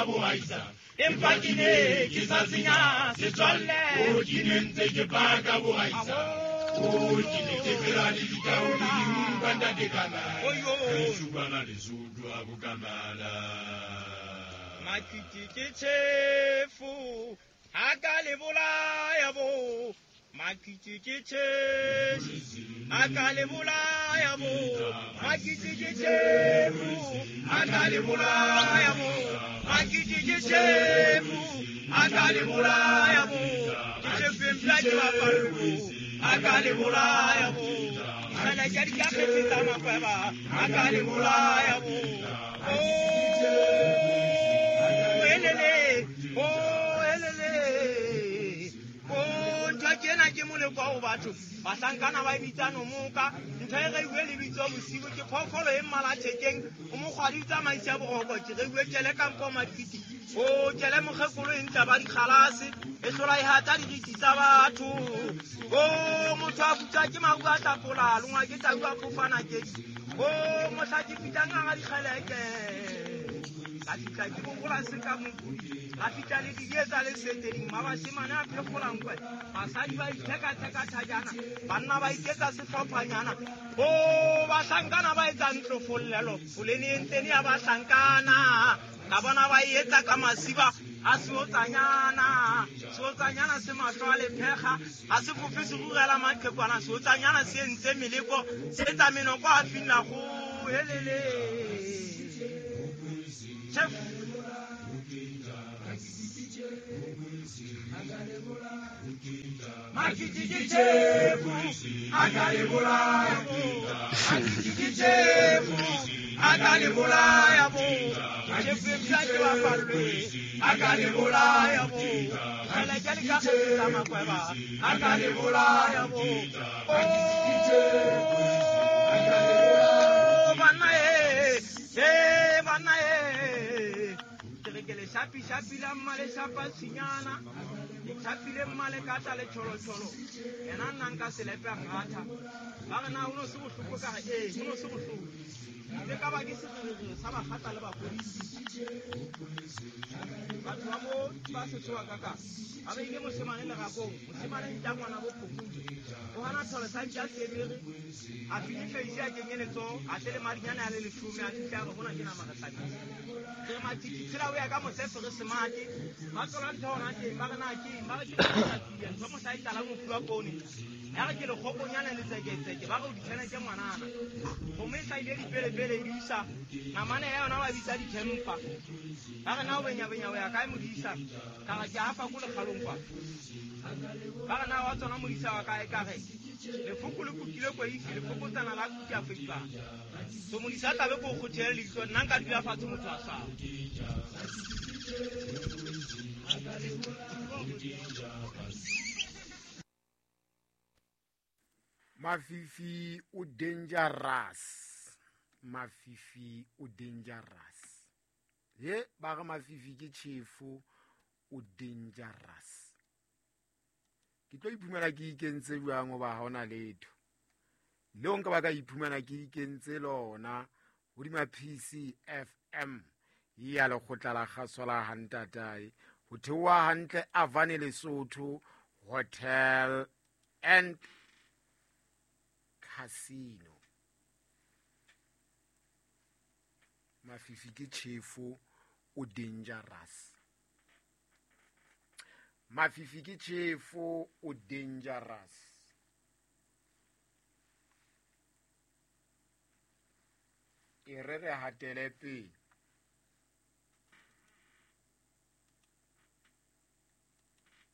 paka boaisane empa ke ne ke sa senya setswalle o ke ne ntse ke paka boaisane o ke ne ke phela le ditau le dinkwa ntate Kamala re supana Lesotho a bokamala Makiti ke tjhefo a ka le bolaya bo Makiti ke tjhefo a ka le bolaya bo Makiti ke tjhefo a ka le bolaya bo Makiti ke tjhefo a ka le bolaya bo ke tjhefo empla ke bapallo a ka le bolaya bo Fela ke di ka kgetsa makweba a ka le bolaya bo Oh elele oh elele oh ntho ke ena ke moleko wa batho bahlankana ba bitsa nomoka ntho e reiwe lebitso bosigo ke phoofolo e mmala thekeng o mokgwadi o tsamaisa boroko ke reiwe tjele kampo Makiti o tjele mokgekolo e ntla ba dikgalase e hlola e hata diriti tsa batho o motho a butsa ke maru a tlapola longwa ke tau a phofana ke o mohla ke fihlang hara dikgeleke ka fihla ke bogola se ka mokudi ka fihla le didietsa le seteding mabashemane a phekgolankwe basadi ba ithekatheka thajana banna ba iketsa sehlophanyana o bahlankana ba etsa ntlofollelo polene e ntsene ya bahlankana ka bona ba e etsa ka masiba a seotsanyana seotsanyana se mahlo a lephekga a se fofe se rurela maqhekwana seotsanyana se entse meleko se etsa menoko a finla go helele chef Makiti ke tjhefo a ka le bolaya bo Makiti ke tjhefo a ka le bolaya bo tjhefo e pša ke bapallwe a ka le bolaya bo fela ke le ka kgetsa makweba a ka le bolaya bo Oh banna e banna e ke le shapi shapi la mmale shapa sinyana le chapile mmale ka tla le tšholotšholo yena nna nka selepe a ngatha ba re na ho no se bohloko ka re ee ho no se bohloko le ka ba ke sererere sa bakgatla le bapolisi batho ba mo ba setsoa kaka ba beile moshemane lerakong moshemane ntja ngwana bo phokodi o hana thole sa ntja sebere a fihle ise a kenye letsoho a tle le madinyane a le leshome a fihle a re hona ke nama re hlabile re Makiti tshela o ya ka mosefe re semate ba tlola ntho hona teng ba re na ke eng ba re ke tsia ntho mohla e tlalang ho fuwa poone ya re ke lekgokonyana le tseketseke ba re o ditjhene ke ngwanana gomme e hlahile dipelepele e di isa namane ya yona ba bitsa dithempa ba re na o benyabenya o ya kae modisa ka re ke afa ko lekgalong kwa ba re na wa tsona modisa wa kae ka re lefoko le kukile koisi lefokotsana la kuki a feipang so modisa a tlabe ko o kgothele leihlo nna nka dula fatshe motho a swaba Mafifi o dangerous Mafifi o dangerous ye ba re Mafifi ke tjhefo o dangerous ke tlo iphumana ke ikentse jwang hoba ha hona letho leo nka ba ka iphumana ke ikentse lona hodima PCFM ya lekgotla la kgaso la Hantatae ho theoha hantle Avane Lesotho Hotel and Casino. Mafifi ke tjhefo o dangerous Mafifi ke tjhefo o dangerous e re re hatele pele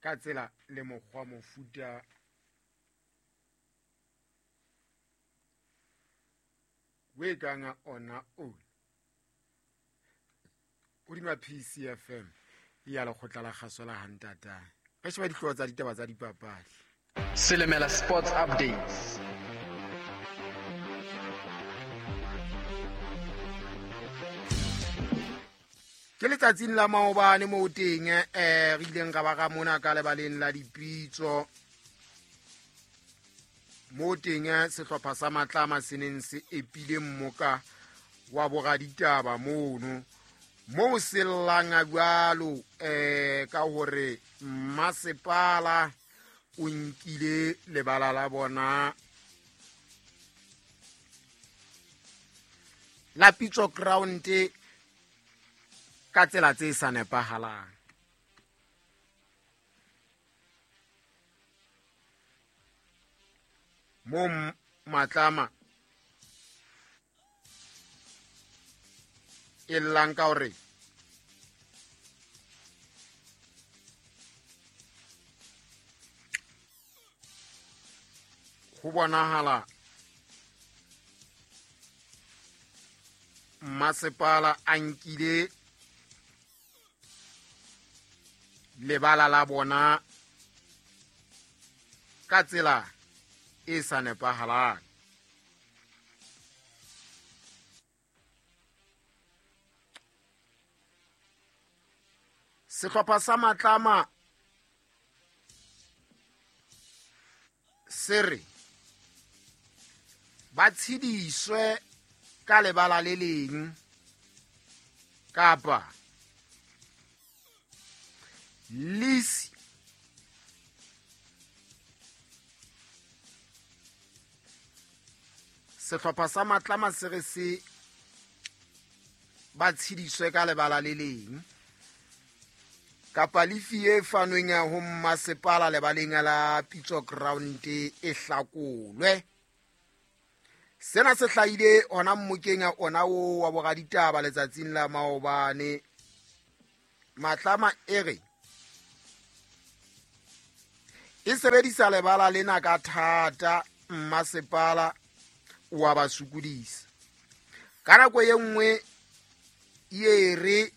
ka tsela le mokgwa mofuta we kanga ona o hodima PCFM ya lekgotla la kgaso la Hantatae re sheba dihlooho tsa ditaba tsa dipapadi. Silimela Sports Updates. Ke letsatsing la maobane moo teng re ileng ra ba ra mona ka lebaleng la dipitso moo teng sehlopha sa Matlama se neng se epile mmoka wa boraditaba mono Moo se llang jwalo ka hore masepala o nkile lebala la bona la Pitso Ground ka tsela tse sa nepahalang. Mo Matlama e llang ka hore ho bonahala masepala a nkile lebala la bona ka tsela e sa nepahalang. Sehlopha sa Matlama se re ba tshediswe ka lebala le leng kapa lisi sehlopha sa Matlama se re se ba tshediswe ka lebala le leng kapa lefi e fanweng ho masepala lebaleng la Pitso Ground e hlakolwe. Sena se hlahile hona mmokeng ona o wa boraditaba letsatsing la maobane. Matlama e re e sebedisa lebala lena ka thata, mmasepala wa ba sokodisa. Ka nako e nngwe e re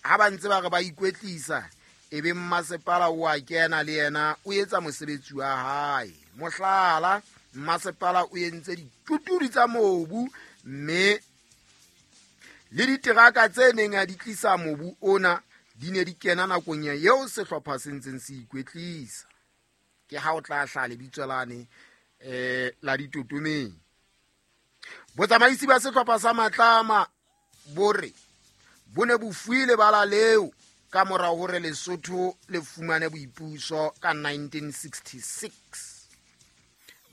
ha ba ntse ba re ba ikwetlisa e be mmasepala o a kena le yena o etsa mosebetsi wa hae. Mohlala, mmasepala o entse dituturi tsa mobu mme le diteraka tse neng a di tlisa mobu ona di ne di kena nakong eo sehlopha se ntseng se ikwetlisa. Ke ha o tla hla lebitso lane la ditotomeng. Botsamaisi ba sehlopha sa Matlama bo re bo ne bo fuwe lebala leo ka mora hore Lesotho le fumane boipuso ka 1966.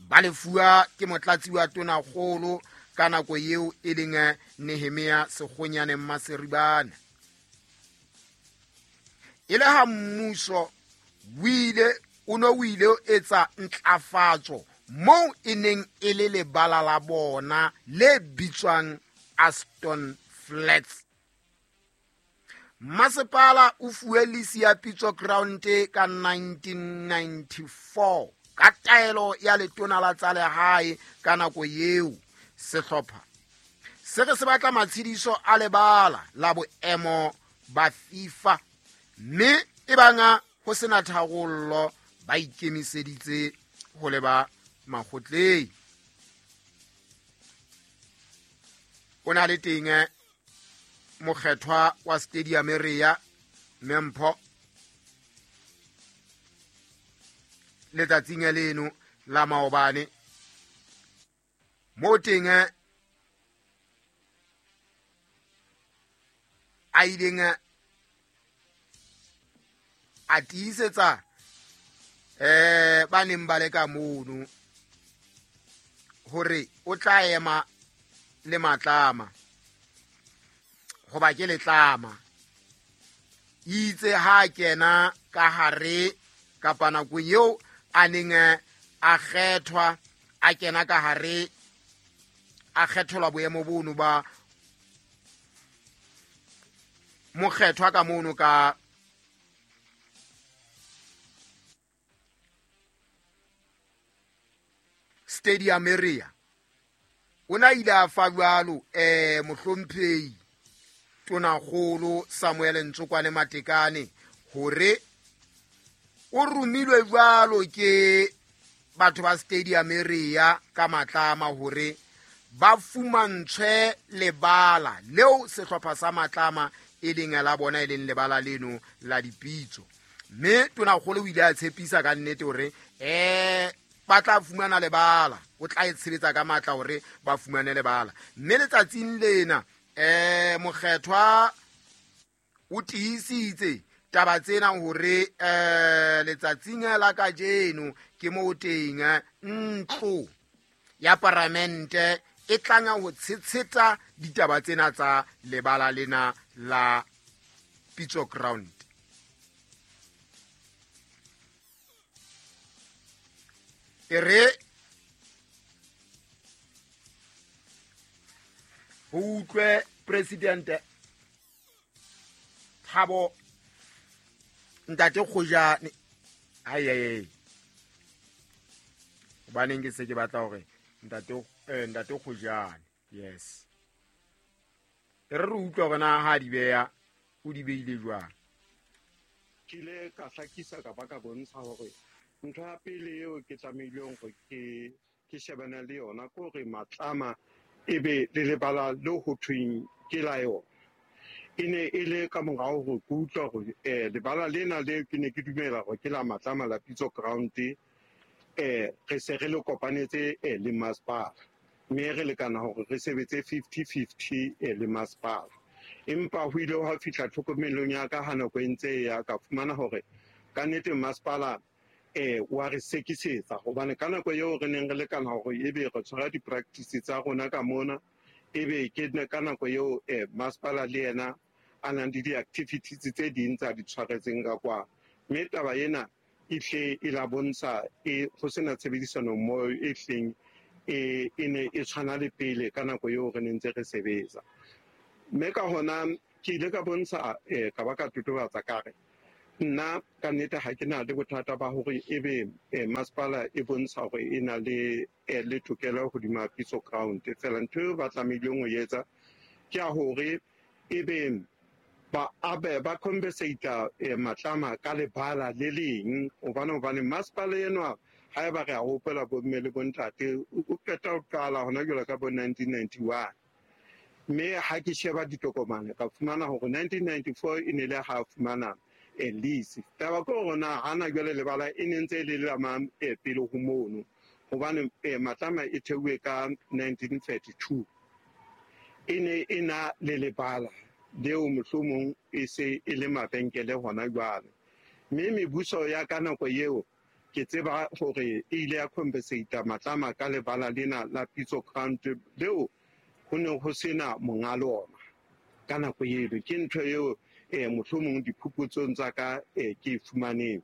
Ba lefuwa ke motlatsi wa tonakgolo ka nako eo e leng Nehemia Sekgonyane Maseribane. E le ha mmuso o ne o ile etsa ntlafatso moo e neng e le lebala la bona le bitswang Aston Flats. Masepala o fuwe lisi ya Pitso Ground ka 1994 ka taelo ya letona la tsa lehae ka nako eo. Sehlopha se re se batla matshediso a lebala la boemo ba FIFA mme e banga ho sena tharollo ba ikemiseditse ho leba makgotleng. O na le teng mokgethwa wa stadium area Mempho letsatsing leno la maobane mo teng a ileng a tiisetsa ba neng ba le ka mono hore o tla ema le Matlama hoba ke letlama. Itse ha kena ka hare kapa nako eo a neng a kgethwa a kena ka hare a kgethelwa boemo bono ba mokgethwa ka mono ka stadium area. O na ile a fa jwalo mohlomphehi tonakgolo Samuel Ntsokwane Matekane hore o romilwe jwalo ke batho ba stadium area ka Matlama hore ba fumantshwe lebala leo sehlopha sa Matlama e leng la bona e leng lebala leno la dipitso. Mme tonakgolo o ile a tshepisa ka nnete hore ba tla fumana lebala, o tla e tshebetsa ka matla hore ba fumane lebala. Mme letsatsing lena mokgethwa O tiisitse taba tsena hore letsatsing la kajeno ke mo teng ntlo ya paramente e tlanga ho tshetsheta ditaba tsena tsa lebala lena la Pitso Ground. E re ho utlwe President Thabo Ntate Kgojane. Ai ai ai, hobaneng ke se ke batla hore Ntate Kgojane, yes, e re re utlwe hore na ha di beya o di beile jwang. Ke ile ka hlakisa ka ba ka bontsha hore ntho ya pele eo ke tlamehileng hore ke shebane le yona ke hore Matlama e be le lebala le ho thweng ke la yona. E ne e le ka morao hore ke utlwa hore lebala lena le ke ne ke dumela hore ke la Matlama la Pitso Ground, re se re le kopanetse le masepala, mme re lekana hore re sebetse 50-50 le masepala. Empa ho ile hwa fihla tlhokomelong ya ka ha nako e ntse e ya, ka fumana hore ka nnete masepala wa re sekisetsa, hobane ka nako eo re neng re lekana hore ebe re tshwara di-practice tsa rona ka mona, ebe ke ka nako eo masepala le yena a nang le di-activities tse ding tsa di tshwaretseng ka kwa. Mme taba ena e hle e la bontsha e ho sena tshebedisano mmoho e hleng e ne e tshwana le pele ka nako eo re neng ntse re sebetsa. Mme ka hona ke ile ka bontsha ka ba ka totobatsa ka re nna ka nnete ha ke na le bothata ba hore ebe masepala e bontsha hore e na le le tokelo hodima Pitso Ground. Feela ntho eo ba tlamehileng ho etsa ke ya hore ebe ba abe ba compensate Matlama ka lebala le leng, hobane masepala enwa haeba re a hopola bomme le bontate o qeta ho qala hona jwale ka bo 1991. Mme ha ke sheba ditokomane ka fumana hore 1994 e ne le ha fumana lease. Taba ke hore na hana jwale lebala e ne ntse e le la mang pele ho mono, hobane Matlama e theuwe ka 1932. E ne e na le lebala leo mohlomong e se e le mabenkele hona jwale. Mme mebuso ya ka nako eo ke tseba hore e ile ya compensate Matlama ka lebala lena la Pitso Ground leo ho ne ho sena monga lona ka nako eo. Ke ntho eo mohlomong diphuputsong tsa ka ke e fumaneng.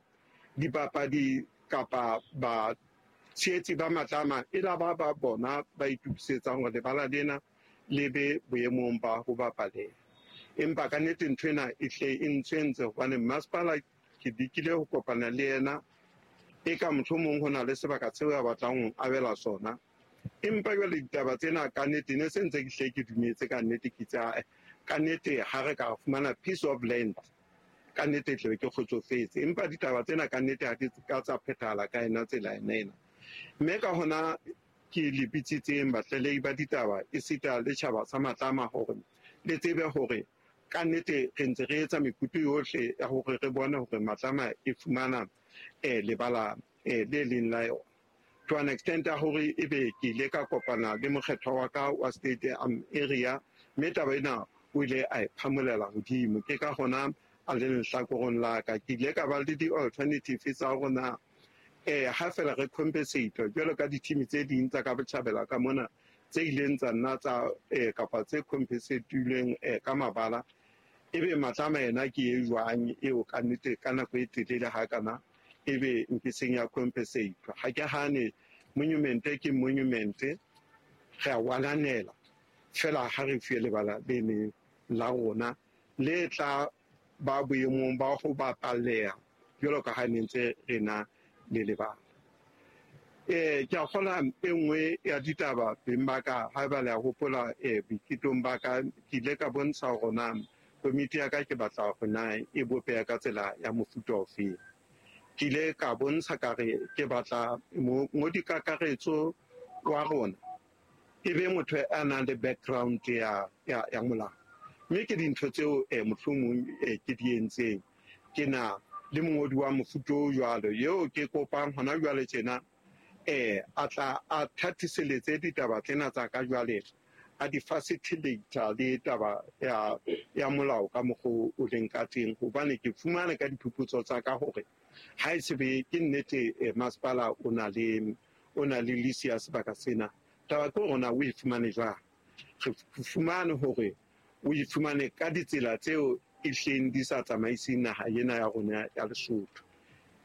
Dipapadi kapa ba tshehetsi ba Matlama e la ba ba bona ba itukisetsang hore lebala lena le be boemong ba ho bapaleha. Empa ka nnete ntho ena e hle e ntshwentse, hobane masepala ke lekile ho kopana le yena, e ka mohlomong ho na le sebaka seo a batlang ho abela sona. Empa jwale ditaba tsena ka nnete ne se ntse ke hle ke dumetse ka nnete, ke tsa ka nnete ha re ka fumana piece of land ka nnete tle ke kgotsofetse. Empa ditaba tsena ka nnete ha di ka tsa phethahala ka ena tsela ena ena. Mme ka hona ke le bitsitseng batlalehi ba ditaba esita le tjhaba sa Matlama hore le tsebe hore ka nnete re ntse re etsa mekutu yohle ya hore re bone hore Matlama e fumana lebala le leng la yona. To an extent ya hore ebe ke ile ka kopana le mokgethwa wa ka wa state area, mme taba ena o ile a e phamolela hodimo. Ke ka hona a le lehlakoreng la ka. Ke ile ka ba le di-alternative tsa hore na ha feela re compensate jwalo ka di-team tse ding tsa ka botjhabela ka mona tse ileng tsa nna tsa kapa tse compensatilweng ka mabala, ebe Matlama yena ke e jwang eo ka nnete ka nako e telele hakana ebe nke seng ya compensate. Ha ke hane monument ke monument, re a wananela fela ha re fiwe lebala le leng la rona le tla ba boemong ba ho bapalleha jwalo ka ha ne ntse re na le lebala. Ke a kgolwa e nngwe ya ditaba beng ba ka, haeba le a hopola boiketong ba ka, ke ile ka bontsha hore na komiti ya ka ke batla hore na e bopeha ka tsela ya mofuta ofeng. Ke ile ka bontsha ka re ke batla mongodi kakaretso wa rona e be motho a nang le background ya molao. Mme ke dintho tseo mohlomong ke di entseng. Ke na le mongodi wa mofuta o jwalo eo ke kopang hona jwale tjena a tla a thatiseletse ditaba tsena tsa ka jwale, A di facilitator le taba ya molao ka mokgwa o leng ka teng, hobane ke fumane ka diphuputso tsa ka hore ha e se be ke nnete, masepala o na le lease ya sebaka sena. Taba ke hore na o e fumane jwang. Re fumane hore o e fumane ka ditsela tseo e hleng di sa tsamaiseng naha ena ya rona ya Lesotho.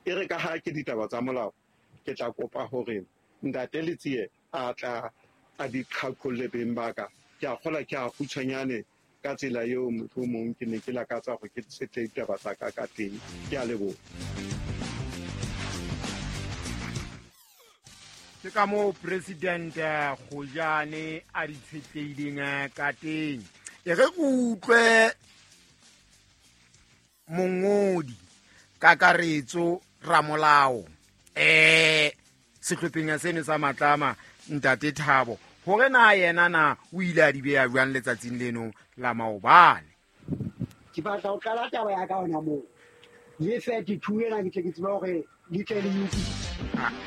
E re ka ha ke ditaba tsa molao, ke tla kopa hore ntate Letsie a tla a di qhaqholle beng ba ka. Ke a kgola ke a kgutshwanyane ka tsela eo mohlomong ke ne ke lakatsa hore ke setle ditaba tsa ka ka teng. Ke a leboha. Ke ka moo President Kgojane a di tshetlehileng ka teng. E re ke utlwe mongodi kakaretso ramolao sehlopheng seno sa Matlama ntate Thabo hore na yena na o ile a di beha jwang letsatsing leno la maobane. Ke batla ho qala taba ya ka hona moo. Le 32 ena ke tle ke tsebe hore le tle le utlwisise.